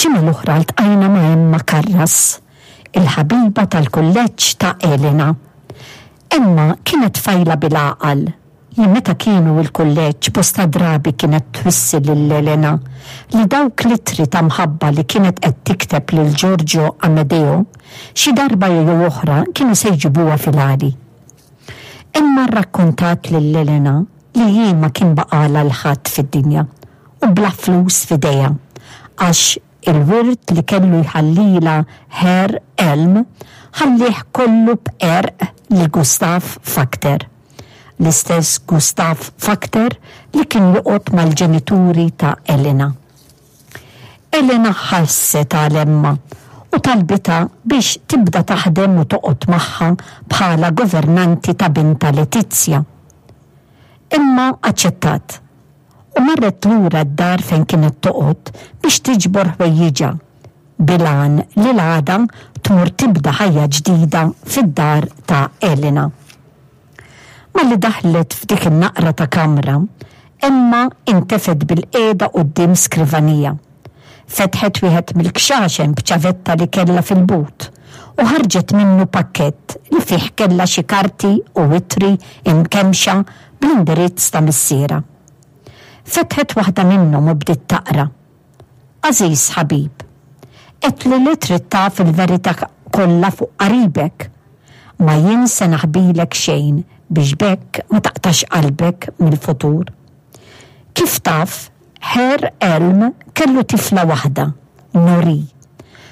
Il-ġimgħa l-oħra ltqajna ma' Emma Karras, il-ħabiba tal-kulleġġ ta' Elena. Emma kienet tfajla bil-għaqal li meta kienu l-kulleġġ bosta drabi kienet twissi lil Elena li dawk l-ittri ta' mħabba li kienet qed tikteb lil Giorgio Amedeo xi darba jew oħra kienu se jġibuha fil-għali. Emma rrakkontat lil Elena li hi ma kien baqgħalha 'l ħadd fid-dinja u bla flus f'idejha għax il-wirt li kellu jħallilha Herr Elm ħallieh kollu b'qerq lil Gustav Fakter, l-istess Gustav Fakter li kien joqgħod mal-ġenituri ta' Elena. Elena ħasset għal Emma u talbitha biex tibda taħdem u toqgħod magħha bħala governanti ta' bintha Letizia. Emma aċċettat u marret lura d-dar fejn kienet toqgħod biex tiġbor ħwejjiġha bil-għan li l-għada tmur tibda ħajja ġdida fid-dar ta' Elena. Malli daħlet f'dik in-naqra ta' kamra, Emma intefgħet bilqiegħda quddiem skrivanija. Fetħet wieħed mill-kxaxen b'ċavetta li kellha fil-but u ħarġet minnu pakkett li fih kellha xi karti u ittri imkemmxa bl-indirizz ta' missierha. Fetħet waħda minnhom u bdiet taqra. Għażiż ħabib, għedtli li trid taf il-verità kollha fuq qaribek. Ma jien se naħbilek xejn biex b'hekk ma taqtax qalbek mill-futur. Kif taf, Herr Elm kellu tifla waħda, Nori.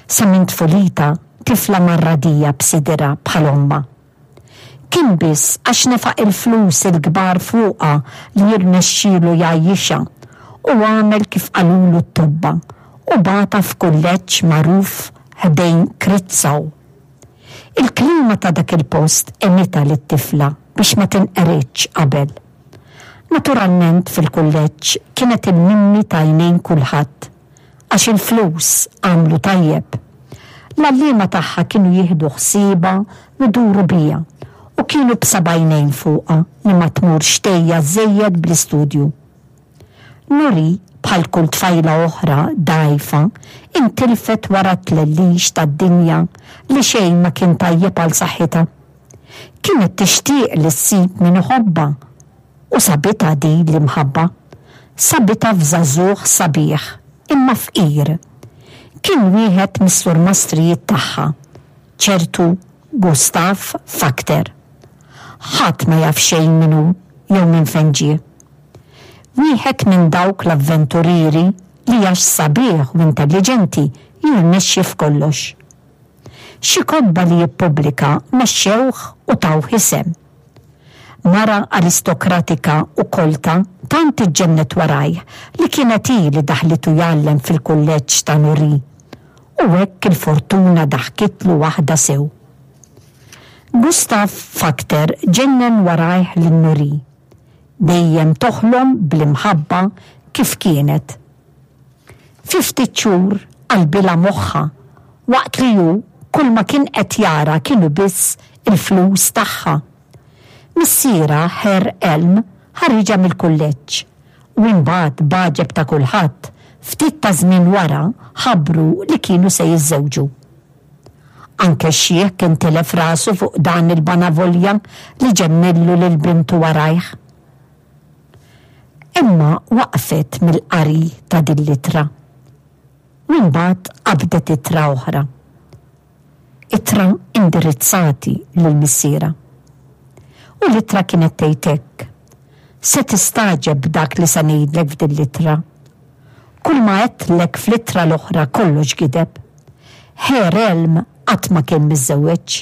Sa minn tfulitha, tifla marradija b'sidirha bħal ommha. Kien biss għax nefaq il-flus il-kbar fuqha li jirnexxielu jgħajjixha u għamel kif qalulu t-tobba u bagħatha f'kulleġġ magħruf ħdejn Kritzau. Il-klima ta' dak il-post għenitha lit-tifla biex ma tinqeridx qabel. Naturalment fil-kulleġġ kienet il-mimmi t'għajnejn kulħadd. Għax il-flus għamlu tajjeb. L-għalliema tagħha kienu jieħdu ħsiebha u jduru biha u kienu b'seba' għajnejn fuqha li ma tmurx tgħejja żżejjed bl-istudju. Nori, bħal kull tfajla oħra dgħajfa, intilfet wara t-tlellix tad-dinja li xejn ma kien tajjeb għal saħħitha. Kienet tixtieq li ssib min iħobbha U sabitha din l-imħabba. Sabitha f'żagħżugħ sabiħ, imma fqir. Kien wieħed mis-surmastrijiet tagħha, ċertu Gustav Fakter. Ħadd ma jaf xejn min hu jew minn fejn ġie. Wieħed minn dawk l-avventurieri li għax sabiħ u intelliġenti jirnexxi f'kollox. Xi kotba li jippubblika mexxewh u tawh isem. Mara aristokratika u kolta tant iġġennet warajh li kienet hi li daħlitu jgħallem fil-kulleġġ ta' Nuri. U hekk il-fortuna daħkitlu waħda sew. Gustav Fakter ġennen warajh lil Nuri. Dejjem toħlom bl-imħabba kif kienet. Fi ftit xhur qalbilha moħħha waqt li hu kull ma kien qed jara kienu biss il-flus tagħha. Missierha, Herr Elm, ħariġha mill-kulleġġ u imbagħad b'għaġeb ta' kulħadd, ftit ta' żmien wara ħabbru li kienu se jiżżewġu. Anke x-xiħ kien tilef rasu fuq dan il-banavolja li ġennillu lil bintu warajh. Emma waqfet mill-qari ta' din l-ittra u imbagħad qabdet ittra oħra. Ittra indirizzati lil missierha. U l-ittra kienet tgħid hekk, Se tistagħġeb b'dak li se ngħidlek f'din l-ittra. Kull ma għedtlek fl-ittra l-oħra kollox gideb. Herr Elm qatt ma kien miżżewweġ.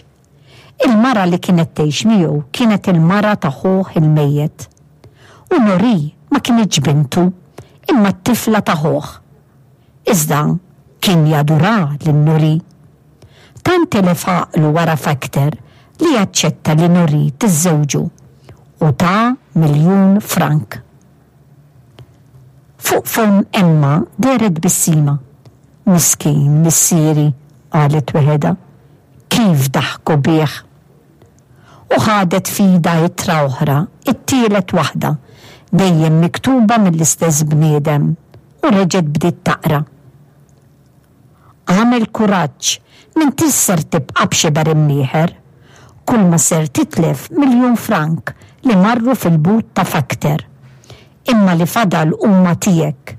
Il-mara li kienet tgħix miegħu kienet il-mara ta' ħuh il-mejjet. U Nori ma kinitx bintu, imma t-tifla ta' ħuh. Iżda kien jaduraha lil Nori. Tant tilef għaqlu wara Factor li aċċetta li Nori tiżżewġu u ta miljun frank. Fuq fomm Emma dehret tbissima. Miskin missieri, qalet weħedha. Kif daħku bih! U ħadet f'idha ittra oħra, it-tielet waħda, dejjem miktuba mill-istess bniedem, u reġgħet bdiet taqra. Agħmel kuraġġ, m'intix ser tibqa' b'xiber imnieħer. Kulma ser titlef miljun frank li marru fil-but ta' Factor. Imma li fadal huma tiegħek.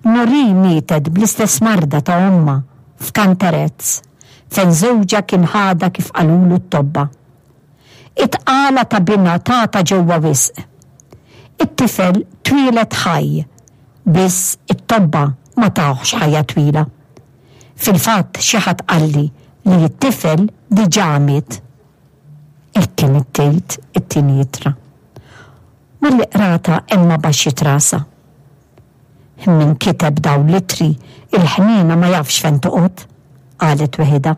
Noree mietet bl-istess marda ta' ommha f'Canterez, fejn żewġha kien ħadha kif qalulu t-tobba. It-tqala ta' binha tagħta ġewwa wisq. It-tifel twieled ħaj, biss it-tobba ma tawhx ħajja twila. Fil-fatt xi ħadd qalli li t-tifel diġà miet. Hekk kienet tgħid it-tieni ittra. Malli qratha Emma baxxiet rasha. Min kiteb dawn l-ittri il-ħniena ma jafx fejn toqgħod, qalet weħidha.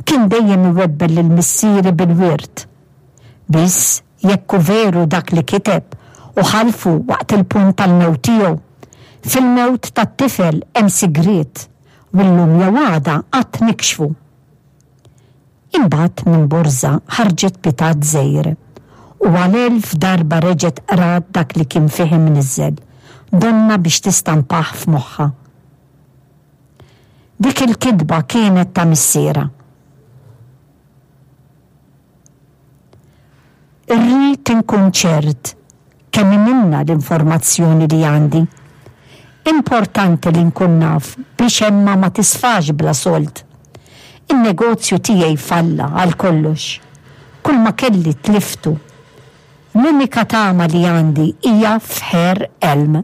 Kien dejjem iwebbel lil missieri bil-wirt. Biss jekk hu veru dak li kiteb u ħalfu waqt il-punt tal-mewt tiegħu, fil-mewt tat-tifel hemm sigriet u llum jew għada għad nikxfu. Imbagħad minn borża ħarġet pitat żgħir u għal elf darba reġgħet qrat dak li kien fih imniżżel, donnha biex tistampah f'moħħha. Dik il-kitba kienet ta' missierha. Irrid inkun ċert kemm hi minnha l-informazzjoni li għandi. Importanti li nkun naf biex Emma ma tisfax bla sold. In-negozju tiegħi falla għal kollox. Kulma kelli tliftu. L-unika tama li għandi hija f'Herr Elm.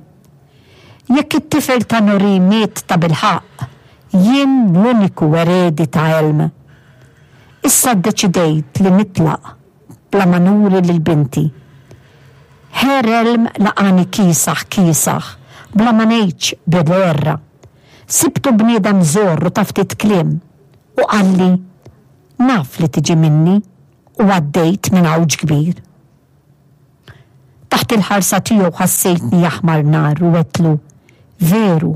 Jekk it-tifel ta' Noree miet tabilħaqq, jien l-uniku eredi ta' Elm. Issa ddeċidejt li nitlaq bla ma nuri lil binti. Herr Elm laqagħni kiesaħ kiesaħ, bla ma ngħidx bil-għerra. Sibtu bniedem żorr u ta' ftit kliem, u qalli, Naf li tiġi minni u għaddejt minn għawġ kbir. Taħt il-ħarsa tiegħu ħassejtni aħmar nar u għedtlu, Veru,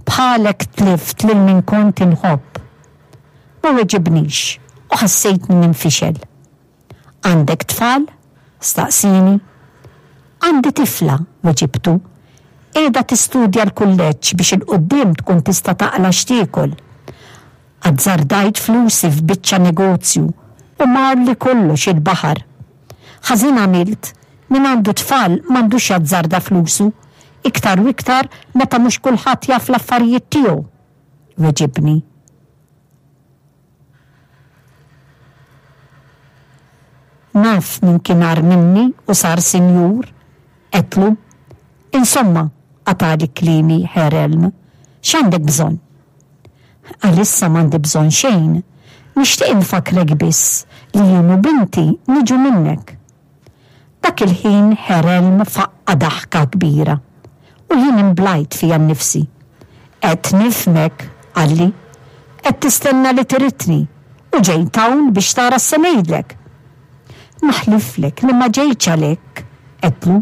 bħalek tlift lil min kont inħobb. Ma weġibnix u ħassejtni ninfixel. Għandek tfal? staqsieni. Għandi tifla, weġibtu. Qiegħda tistudja l-kulleġġ biex 'il quddiem tkun tista' taqla' x'tiekol. Azzardajt flusi f'biċċa negozju u marli kollox il-baħar. Ħażin għamilt, min għandu tfal m'għandux jazzarda flusu, iktar u iktar meta mhux kulħadd jaf l-affarijiet tiegħu, weġibni. Naf min kien agħar minni u sar sinjur, għedtlu. Insomma, qatagħli kliemi Herr Elm, x'għandek bżonn? Għalissa m'għandi bżonn xejn. Nixtieq infakkrek biss li jien u binti niġu minnek. Dak il-ħin Herr Elm faqqa' daħka kbira u jien imblajt fija nnifsi. Qed nifhmek, qalli. Qed tistenna li tiritni u ġejt hawn biex tara x'se ngħidlek. Naħliflek li ma ġejtx għalhekk, għedtlu.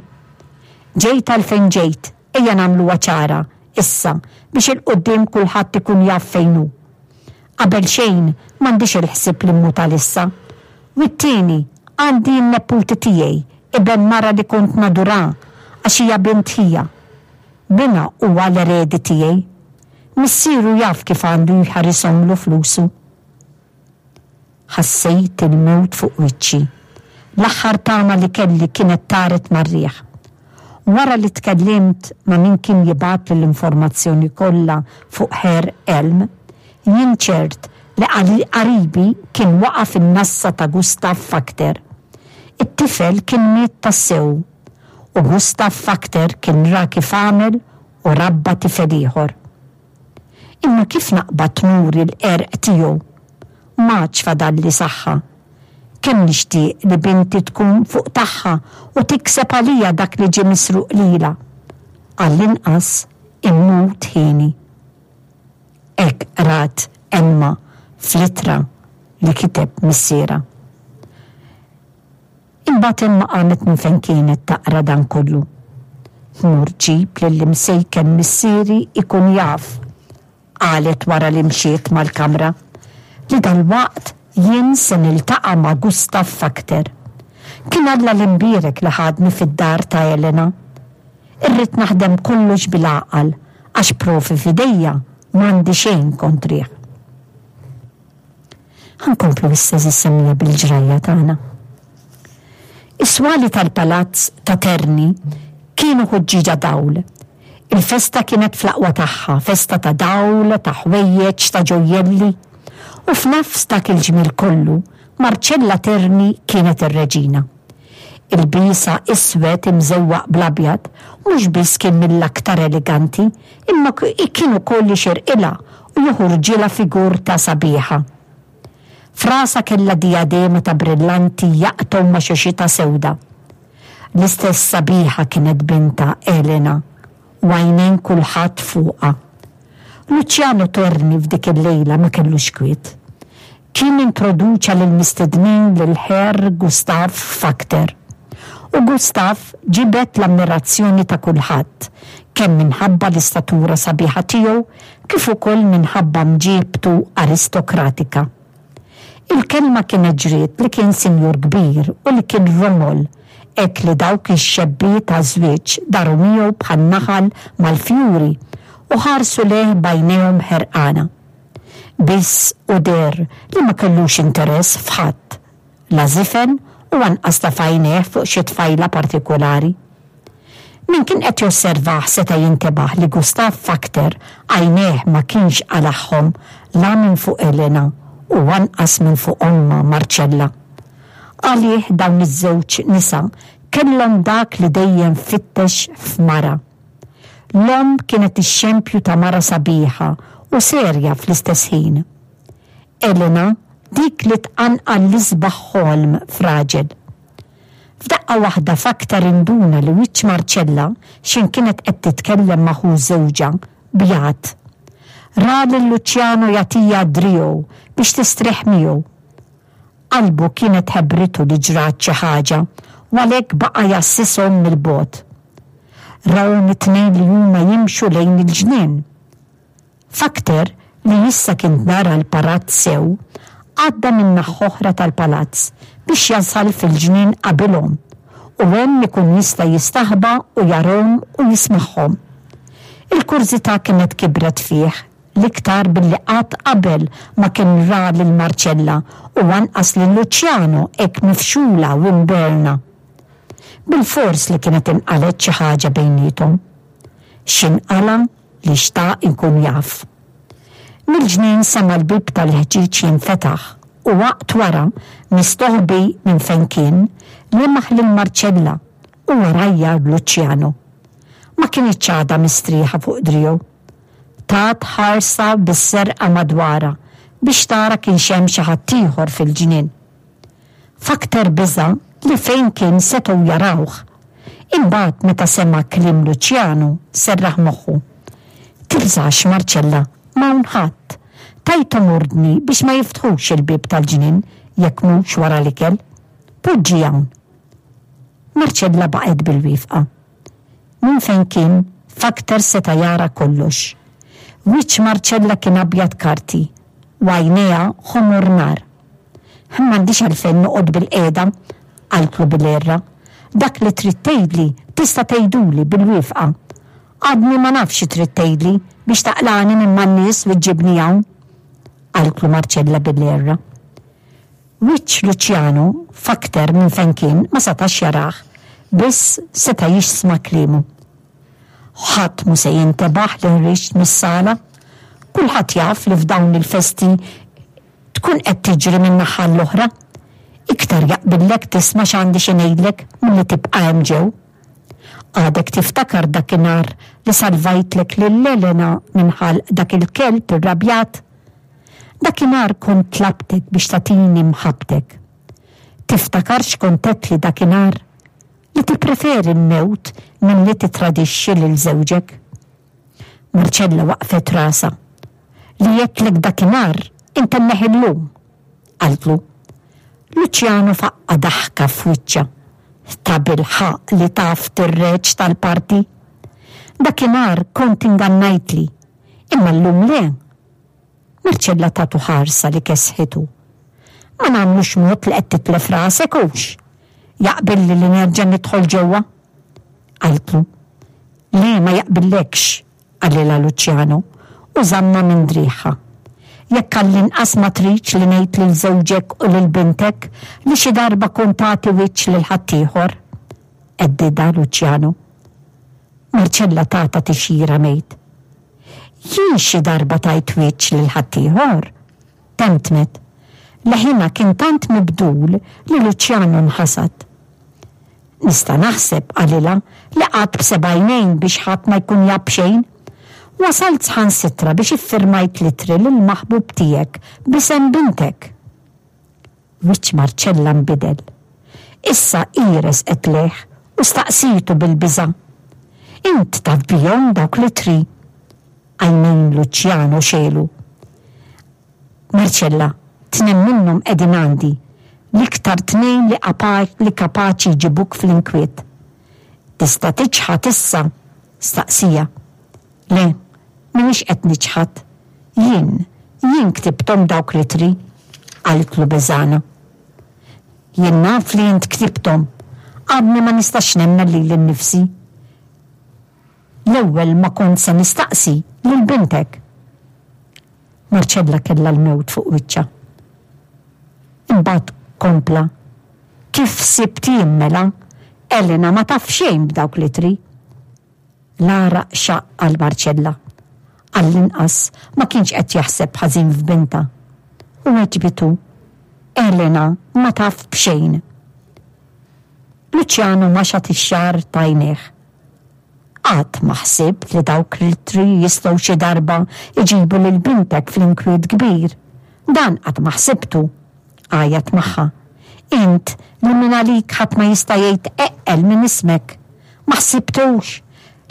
Ġejt għalfejn ġejt, ejja nagħmluha ċara, issa, biex 'il quddiem kulħadd ikun jaf fejn hu. Qabel xejn, m'għandix il-ħsieb li mmut għalissa. U t-tieni, għandi n-neputi tiegħi, iben mara li kont nadurha għax hija bint ħija. Binha huwa l-eredi tiegħi. Missieru jaf kif għandu jħarishomlu flusu. Ħassejt il-mewt fuq wiċċi. L-aħħar tama li kelli kienet taret mar-riħ. Wara li tkellimt ma' min kien jibgħatli l-informazzjoni kollha fuq Herr Elm, jien ċert li qaribi kien waqa' fin-nassa ta' Gustav Fakter. It-tifel kien miet tassew u Gustav Fakter kien ra kif għamel u rabba tifel ieħor. Imma kif naqbad nuri l-qerq tiegħu? M'għadx fadalli saħħa. Kemm nixtieq li binti tkun fuq tagħha u tikseb għalija dak li ġie misruq lilha. Għall-inqas immut hieni. Hekk qrat Emma fl-ittra li kiteb missierha. Imbagħad Emma qamet minn fejn kienet taqra dan kollu. Tmur ġġib lill-imsejken missieri jkun jaf, qalet wara li mxiet mal-kamra, li dalwaqt jien se niltaqa' ma' Gustav Fakter. Kien Alla l-Imbierek li ħadni fid-dar ta' Elena. Irrid naħdem kollox bil-għaqal għax provi f'idejja m'għandi xejn kontrih. Ħa nkomplu issa għeżież semmiegħa bil-ġrajja tagħna. Is-swali tal-palazz ta' Terni kienu ħuġġieġa dawl. Il-festa kienet fl-aqwa tagħha, festa ta' dawl, ta' ħwejjeġ, ta' ġojjelli. U f'nofs dak il-ġmiel kollu, Marcella Terni kienet ir-reġina. Ilbiesha iswed imżewwaq bl-abjad mhux biss kien mill-aktar eleganti imma kien ukoll jixirqilha u joħorġilha figurta sabiħa. F'rasha kellha dijadema ta' brillanti jaqtgħu ma' xuxitha sewda. L-istess sabiħa kienet bintha Elena u għajnejn kulħadd fuqha. Luciano Terni f'dik il-lejla ma kellux kwiet. Kien introduċa lill-mistednin lil Herr Gustav Fakter. U Gustav ġibed l-ammirazzjoni ta' kulħadd, kemm minħabba l-istatura sabiħa tiegħu kif ukoll minħabba mġiebtu aristokratika. Il-kelma kienet ġriet li kien sinjur kbir u li kien romol, hekk li dawk ix-xebbiet għaż-żwieġ daru miegħu bħan-naħal mal-fjuri u ħarsu lejh b'għajnejhom ħerqana. Biss hu deher li ma kellux interess f'ħadd, la żifen u anqas tefa' għajnejh fuq xi tfajla partikulari. Min kien qed josservah seta' jintebaħ li Gustav Fakter għajnejh ma kienx qalagħhom la minn fuq Elena u anqas minn fuq ommha Marcella. Għalih dawn iż-żewġ nisa kellhom dak li dejjem fittex f'mara. L-omm kienet ix-xempju ta' mara sabiħa u serja fl-istess ħin. Elena dik li tqanqal l-isbaħ ħolm f'raġel. F'daqqa waħda Fakter induna li wiċċ Marcella x'in kienet qed titkellem ma' ħu żewġha, bjad. Ra lil Luciano jagħtiha driegħu biex tistrieħ miegħu. Qalbu kienet ħebritu li ġrat xi ħaġa u għalhekk baqa' jgħassishom mill-bogħod. Rahom it-tnejn li huma jimxu lejn il-ġnien. Fakter, li issa kien dara l-parat sew, għadda min-naħa oħra tal-palazz biex jasal fil-ġnien qabilhom u hemm ikun jista' jistaħba u jarahom u jismagħhom. Il-kurżità kienet kibret fih, l-iktar billi qatt qabel ma kien ra lil Marcella u anqas lil Luciano hekk mifxula u mberna. Bilfors li kienet inqalgħet xi ħaġa bejniethom. X'inqala' li xtaq ikun jaf. Mill-ġnien sema' l-bieb tal-ħġieġ jinfetaħ u waqt wara, mistoħbi minn fejn kien, lemaħ lil Marcella u warajha Luciano. Ma kinitx għadha mistrieħa fuq driegħu. Tat ħarsa bis-serqa madwarha biex tara kienx hemm xi ħaddieħor fil-ġnien. F'aktar biża' li fejn kien setgħu jarawh. Imbagħad meta sema' kliem Luċjanu serraħ moħħu. Tibżax, Marcella, m'hawn ħadd. Tajthom ordni biex ma jiftħux il-bieb tal-ġnien jekk mhux wara l-ikel. Poġġi hawn. Marcella baqgħet bil-wieqfa. Minn fejn kien, Fakter seta' jara kollox. Wiċċ Marcella kien abjad karti u għajnejha ħomor nar. M'għandix għalfejn noqgħod bilqiegħda, qaltlu bil-għerra. Dak li trid tgħidli tista' tgħiduli bil-wifqa. Għadni ma nafx xi trid tgħidli biex taqlagħni minn man-nies u ġġibni hawn, qaltlu Marcella bil-għerra. Wiċċ Luciano f'aktar minn fejn kien ma setax jarah, biss seta' jisma' kliemu. Ħadd mhu se jintebaħ li ħriġt mis-sala. Kulħadd jaf li f'dawn il-festi tkun qed tiġri minn naħa għall-oħra. Iktar jaqbillek tisma' x'għandi xi ngħidlek milli tibqa' hemm ġew. Għadek tiftakar dakinhar li salvajtlek lil Elena minn ħalq dak il-kelb irrabjat? Dakinhar kont tlabtek biex tagħtini mħabbtek. Tiftakar x'kont għedtli dakinhar? Li tippreferi l-mewt milli tittradixxi lil żewġek. Marcella waqqfet rasha. Li għedtlek dakinhar intemmeh illum, qaltlu. Luciano faqqa' daħka f'wiċċha. Tabilħaqq li taf tirreġ tal-parti. Dakinhar kont ingannajtli, imma llum le. Marcella tatu ħarsa li kesħitu. Ma nagħmlux mod li qed titlef rasek hux? Jaqbilli li nerġa' nidħol ġewwa? Qaltlu. Le ma jaqbillekx, qalilha Luciano u żammha minn driegħha. Jekk għall-inqas ma tridx li ngħid lil żewġek u lil bintek li xi darba kont tagħti wiċċ lil ħaddieħor, għeddidha Luċjanu. Marcella tatha tixjira mejt. Jien xi darba tajt wiċċ lil ħaddieħor? Temtmet. Leħinha kien tant mibdul li Luċjanu nħasad. Nista' naħseb, qalilha, li qgħadt b'seba' għajnejn biex ħadd ma jkun jaf b'xejn. Wasalt sħansitra biex iffirmajt l-ittri lill-maħbub tiegħek b'isem bintek. Wiċċ Marcella nbidel. Issa hi resqet lejh u staqsietu bil-biża'. Int taf bihom dawk l-ittri? Għajnejn Luciano xegħlu. Marcella, tnejn minnhom qegħdin għandi, l-iktar tnejn li li kapaċi jġibuk fl-inkwiet. Tista' tiċħad issa? staqsieha. Le, m'iniex qed niċħad. Jien, jien ktibthom dawk l-ittri, qaltlu beżgħana. Jien naf li int ktibthom. Għadni ma nistax nemmen lili nnifsi. L-ewwel ma kont se nistaqsi lil bintek. Marcella kellha l-mewt fuq wiċċha. Imbagħad kompla, Kif sibt jien mela, Elena ma taf xejn b'dawk l-ittri. L-għaraq xaqq għal Marcella. Għall-inqas ma kienx qed jaħseb ħażin f'bintha. U weġbitu, Elena ma taf b'xejn. Luciano maxat ix-xagħar t'għajnejh. Qatt ma ħsibt li dawk l-ittri jistgħu xi darba jġibu lil bintek fl-inkwiet kbir. Dan qatt ma ħsibtu! għajjat magħha. Int li mingħalik ħadd ma jista' jgħid eqqel minn ismek. Ma ħsibtux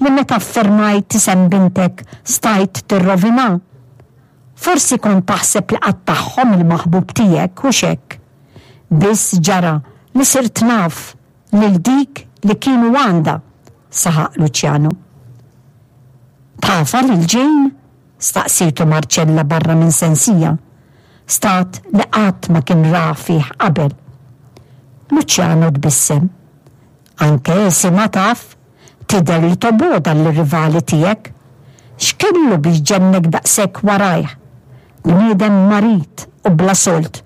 li meta ffirmajt isem bintek stajt tirrovinha? Forsi kont taħseb li qattagħhom il-maħbub tiegħek, hux hekk? Biss ġara li sirt naf lil dik li kienu għandha, saħaq Luciano. Tafha lil Jane? staqsietu Marcella barra minn sensija, stat li qatt ma kien ra fih qabel. Luciano tbissem. Anke isimha taf, tidher li tobgħodha lir-rivali tiegħek. X'kellu biex ġennek daqshekk warajh? Bniedem marid u bla sold.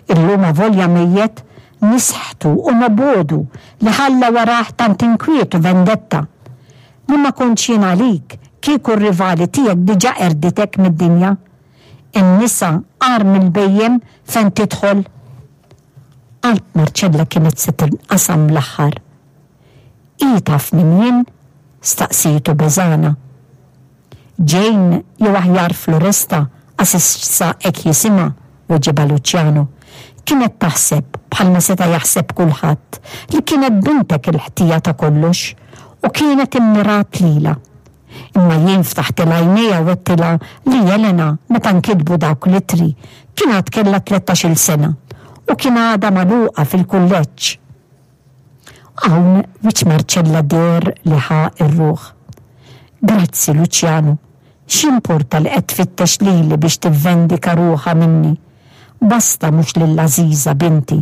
Illum avolja mejjet, nisħtu u nobgħodu li ħalla warah tant inkwiet u vendetta. Li ma kontx jien għalik, kieku r-rivali tiegħek diġà qerditek mid-dinja. In-nisa agħar mill-bhejjem fejn tidħol. Qalb Marcella kienet se tinqasam l-aħħar. Hi taf min jien? staqsietu beżgħana. Jane, jew aħjar Floresta, għax issa hekk jisimha, weġibha Luciano. Kienet taħseb, bħalma seta' jaħseb kulħadd, li kienet bintek il-ħtija ta' kollox u kienet immirat lilha. Imma jien ftaħtilha għajnejha u għedtilha li Elena, meta nkitbu dawk l-ittri, kien għad kellha tlettax-il sena u kien għadha magħluqa fil-kulleġġ. Hawn wiċċ Marcella deher li ħa r-ruħ. Grazzi, Luciano. X'jimporta li qed tfittex lili biex tivvendika ruħha minni? Basta mhux lil Għażiża binti.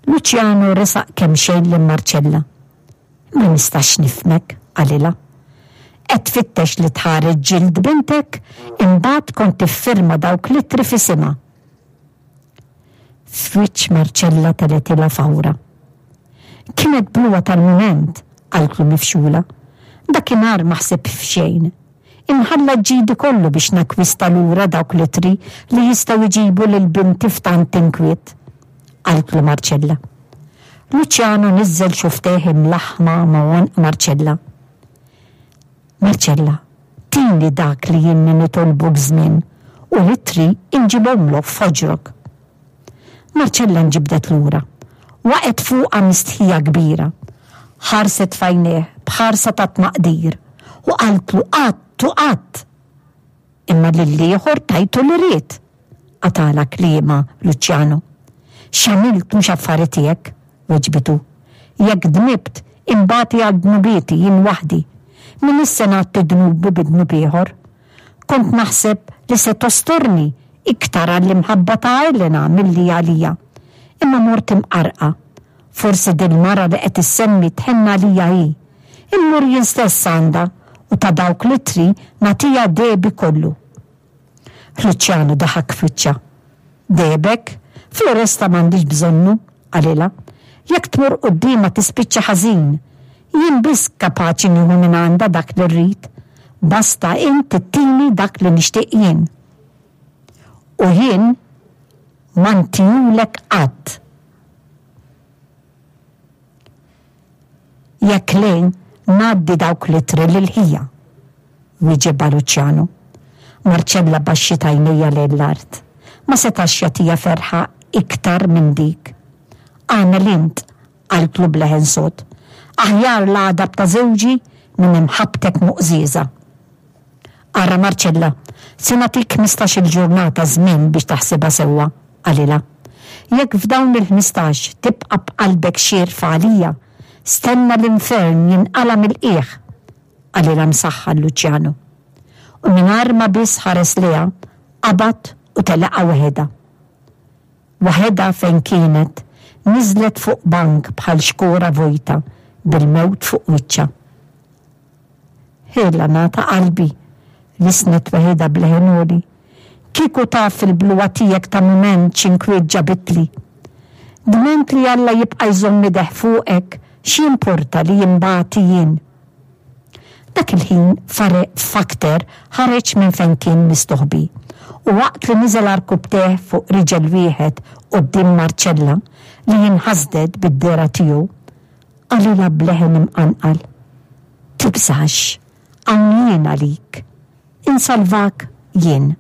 Luciano resaq kemxejn lil Marcella. Ma nistax nifhmek, qalilha. Qed tfittex li tħareġ ġild bintek, imbagħad kont tiffirma dawk l-ittri f'isimha. F'wiċċ Marcella telgħetilha fawra. Kienet bluha tal-mument, qaltlu mifxula. Dakinhar ma ħsibt f'xejn. Inħallat ġidi kollu biex nakkwista lura dawk l-ittri li jistgħu jġibu lil binti f'tant inkwiet, qaltlu Marcella. Luciano niżżel xufftejh imlaħħma ma' għonq Marcella. Marcella, tini dak li ilni nitolbuk żmien u l-ittri inġibhomlok f'ħoġrok. Marcella nġibdet lura. Waqgħet fuqha mistħija kbira. Ħarset f'għajnejh b'ħarsa ta' tmaqdir u qaltlu qatt u qatt. Imma lill-ieħor tajtu li ried, qatagħlha kliemha Luciano. X'għamilt mhux affari tiegħek, weġbitu. Jekk dnibt, inbati għal dnubieti jien waħdi. M'iniex se ngħatti dnubi bi dnub ieħor. Kont naħseb li se tostorni iktar għall-imħabba ta' Elena milli għalija. Imma mort imqarrqa. Forsi dil-mara li qed issemmi tħenn għalija hi. Immur jien stess għandha u ta' dawk l-ittri nagħtiha dehbi kollu. Luċjanu daħak f'wiċċha. Dehbek? Floresta m'għandhiex bżonnu, qalilha. Jekk tmur quddiemha tispiċċa ħażin. Jien biss kapaċi nieħu mingħandha dak li rrid. Basta int ittini dak li nixtieq jien. U jien ma ntihulek qatt. Jekk le, ngħaddi dawk l-ittri lil ħija, wieġibha Luciano. Marcella baxxiet għajnejha lejn l-art. Ma setax jagħtiha ferħa iktar minn dik. Agħmel int, qaltlu b'leħen sod. Aħjar l-għadab ta' żewġi minn imħabbtek moqżieża. Ara Marcella, se nagħtik 15-il ġurnata żmien biex taħsibha sewwa, qalilha. Jekk f'dawn il-15 tibqa' b'qalbek xierfa għalija, stenna l-infern jinqala' mill-qiegħ, qalilha msaħħar Luciano. U mingħajr ma biss ħares lejha, qabad u telaqha waħedha. Waħedha fejn kienet, niżlet fuq bank bħal xkora vojta bil-mewt fuq wiċċha. Ħielana ta' qalbi, lissnet weħidha b'leħen għoli. Kieku taf il-bluha tiegħek ta' mument x'inkwiet ġabitli. Dment li Alla jibqa' jżomm ideh fuqek, x'jimporta li inbati jien? Dak il-ħin Fakter ħareġ minn fejn kien mistoħbi u waqt li niżel għarkupptejh fuq riġel wieħed quddiem Marcella li inħasdet bid-dehra tiegħu, Qalilha b'leħen imqanqal, Tibżax, hawn jien għalik. Insalvak jien.